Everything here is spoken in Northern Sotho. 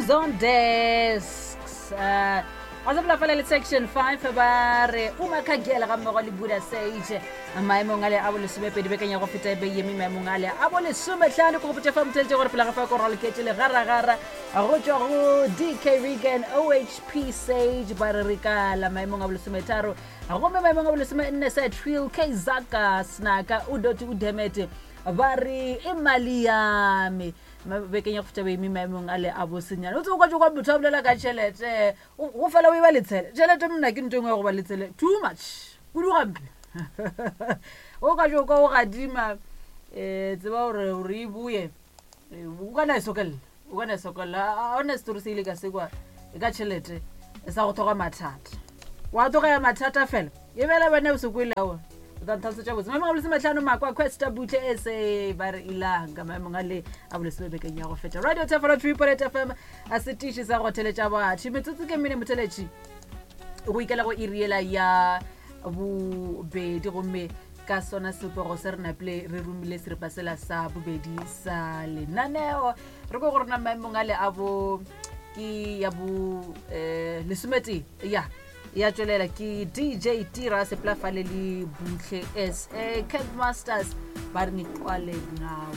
Who's on Desks. Ga se bolafala le Section 5 ba re Umakhagela ga mmogo le Buddha Sage maemong ale a bolesomepedi bekeng ya go feta e beiyeme maemong ale a bolesometlhano. Ke gopotša fa motheletše gore pela ga fa ko raloketše legaragara go tšwa go DK Regan OHP Sage ba re re kala maemong a bolesometharo, gomme maemong a bolesomenne sa Trill K Zaka Snaka Udoti Udemete ba re e mali yame bekeng ya go feta boemi maemong a le a bosenyane. O tsebo kwa kwa motho a bolela ka tšhelete go fela o e ba letshele tšhelete. Mna ke nto engwe ya go ba letshele too much kudu gampe. O ka jo kwa o gadima um tseba gore gore e boye, o kana e sokelela, o kana e sokelela. A ona setori se ile ka sekwa e ka tšhelete e sa go tlhoga mathata, wa tloga ya mathata fela e bela bana o se kwele ao. O tla ntlhalosetša botse maemong a bolesometlhano Makwa Questa Butle sa ba re Ilanga maemong a le a bolesome bekeng ya go feta. Radio Tefolo 3.8 FM a setiši sa go theletša batho. Metsotso ke mene motheletši go ikela go iriela ya bobedi, gomme ka sona sepego se re napile re romile seripa sela sa bobedi sa lenaneo. Re ko go rona maemong a le a bo ke ya bo um lesometee ya ya tšwelela ke DJ Tira Seplafale le Buhle sa Camp Masters ba re ngiqwale ngawe.